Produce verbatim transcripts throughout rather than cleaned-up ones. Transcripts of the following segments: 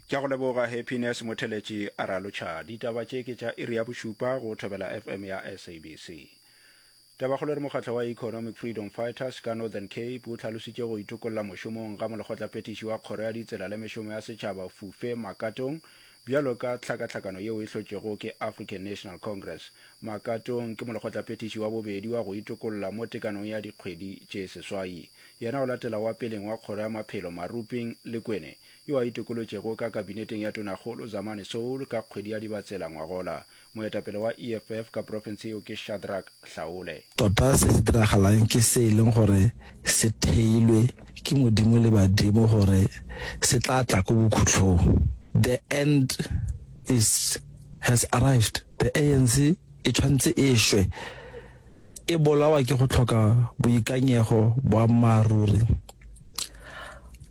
Ke a go leboga Happiness Motheletši a ralotšha. Ditaba tše ke tša iri ya bošupa go Thobela F M ya S A B C. Tabakgolo re mokgatlo wa Economic Freedom Fighters ka Northern Cape o hlalositše go itokolla mošomong ga molekgotlaphethiši wa kgoro ya ditsela le mešomo ya setšhaba Fufe Makatong bjalo ka tlhakatlhakano yeo e hlotšwego ke African National Congress. Makatong ke molekgotlaphethiši wa bobedi wa go itokolla mo tekanong ya dikgwedi tše seswai. Yena o latela wa peleng wa kgoro ya maphelo Maruping Lekwene yo a itokolotšego ka kabineteng ya Tonakgolo Zamani Saul ka kgwedi ya Dibatsela ngwagola. Moetapele wa E F F ka profense yeo ke Shadrack Hlaole. Tota se se diragalang ke se e leng gore se theilwe ke Modimo le badimo gore se tla tla ko bokhutlong. The end is has arrived. The A N C e tshwanetse e shwe. E bolawa ke go tlhoka boikanyego, boammaaruri.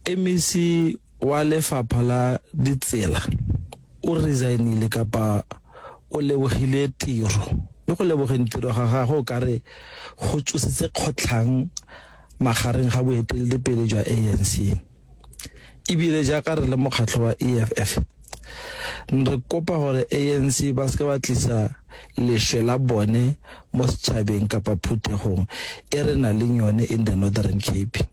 M E C wa lefapha la ditsela o resignile kapa o lebogile tiro, mme go lebogeng tiro ga gagwe o ka re go tsositse kgotlhang magareng ga boeteledipele jwa A N C. Ebile jaaka re le mokgatlho wa E F F re kopa gore A N C ba seke ba tlisa lešwe la bone mo setšhabeng kapa phuthegong e re nang le yone in the Northern Cape.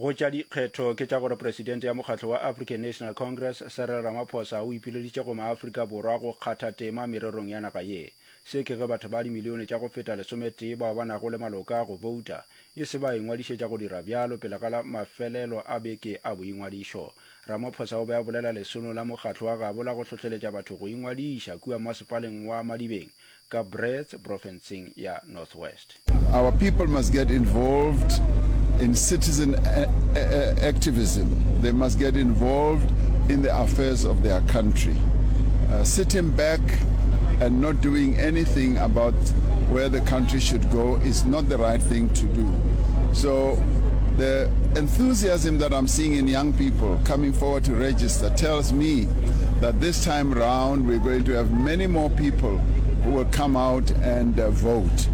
Go tša dikgetho ke tša gore presidente ya mokgatlo wa African National Congress Cyril Ramaphosa o ipileditše go maAfrika Borwa go kgatha tema mererong ya naga ye. Se ke ge batho ba dimilione tša go feta lesometee bao ba nago le maloka a go bouta e se ba ingwadišetša go dira bjalo pele ga la mafelelo a beke a boingwadišo. Ramaphosa o be a bolela lesolong la mokgatlo wa gabo la go hlohleletša batho go ingwadiša kua masepaleng wa Madibeng ka Brits profenseng ya North West. Our people must get involved in citizen activism. They must get involved in the affairs of their country. Uh, sitting back and not doing anything about where the country should go is not the right thing to do. So the enthusiasm that I'm seeing in young people coming forward to register tells me that this time round we're going to have many more people who will come out and uh, vote.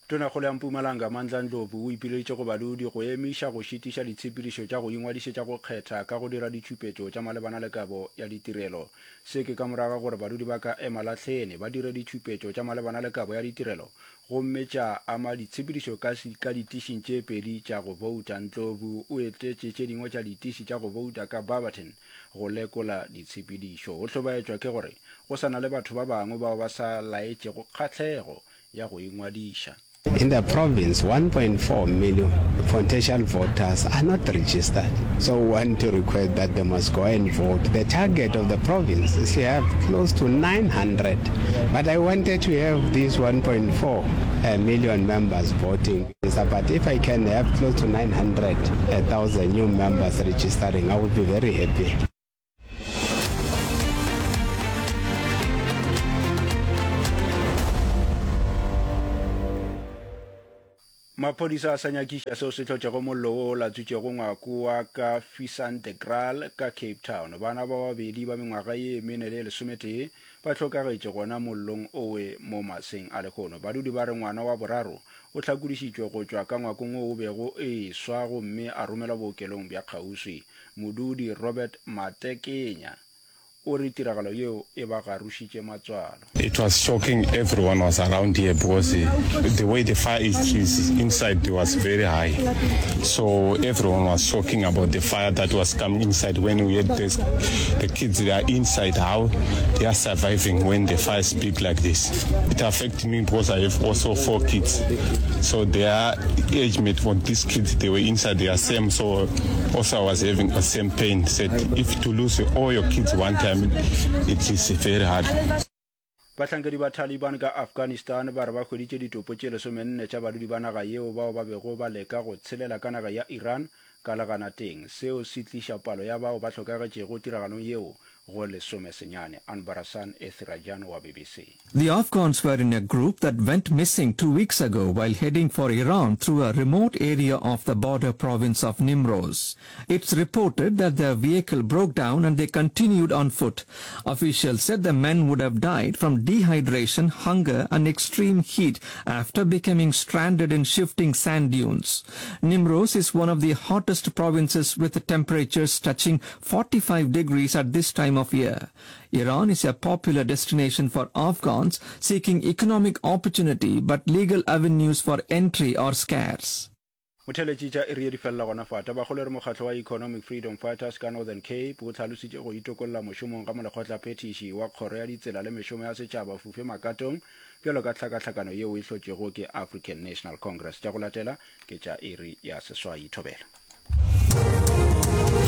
Tonakgolo ya Mpumalanga Mandla Ndlovu o ipileditše go badudi go emiša go šitiša ditshepedišo tša go ingwadišetša go kgetha ka go dira ditšhupetšo tša malebana le kabo ya ditirelo. Se ke ka morago ga gore badudi ba ka Emalahleni ba dire ditšhupetšo tša malebana le kabo ya ditirelo gomme tša ama ditshepedišo ka ka ditišing tše pedi tša go bouta. Ndlovu o etetše tše dingwe tša ditiši tša go bouta ka Barberton go lekola ditshepedišo. O hlobaetšwa ke gore go sa na le batho ba bangwe bao ba sa laetšego kgahlego ya go ingwadiša. In the province, one point four million potential voters are not registered. So we want to request that they must go and vote. The target of the province is to have close to nine hundred. But I wanted to have these one point four uh, million members voting. But if I can have close to nine hundred thousand new members registering, I would be very happy. Maphodisa a sa nyakiša seo se hlotšego mollo wo o latswitšego ngwako wa ka Fisantekraal ka Cape Town. Bana ba babedi ba mengwaga ye mene le lesometee ba hlokagetše gona mollong owe mo maseng a lehono. Badudi ba re ngwana wa boraro o hlakodišitšwe go tšwa ka ngwakong wo o bego e swa gomme a romelwa bookelong bja kgauswi. Modudi Robert Matekenya o re tiragalo yeo e ba garošitše matswalo. It was shocking. Everyone was around here because the, the way the fire is, is inside was very high. So everyone was shocking about the fire that was coming inside. When we had this, the kids, they are inside, how they are surviving when the fire is big like this. It affected me because I have also four kids. So their age mate for these kids, they were inside, they are same. So also I was having the same pain. Said if to lose all your kids one time, it is very hard. Bahlankedi ba Taliban ka Afghanistan ba re ba hweditše ditopo tše lesomenne tša badudi ba naga yeo bao ba bego ba leka go tshelela ka naga ya Iran ka leganateng. Seo se tliša palo ya bao ba hlokagetšego tiragalong yeo go lesomesenyane. Anbarasan Ethirajan wa BBC. The Afghans were in a group that went missing two weeks ago while heading for Iran through a remote area of the border province of Nimroz. It's reported that their vehicle broke down and they continued on foot. Officials said the men would have died from dehydration, hunger and extreme heat after becoming stranded in shifting sand dunes. Nimroz is one of the hottest provinces with temperatures touching forty-five degrees at this time of year. Iran is a popular destination for Afghans seeking economic opportunity, but legal avenues for entry are scarce. Motheeletši tša iri ye di felela gona fa. Tabakgolo e re mokgatlo wa Economic Freedom Fighters ka Northern Cape o hlalositše go itokolla mošomong ga molekgotlaphethiši wa kgoro ya ditsela le mešomo ya setšhaba Fufe Makatong bjalo ka tlhakahlakano yeo e hlotšwego ke African National Congress. Tša go latela ke tša iri ya seswai. Thobela.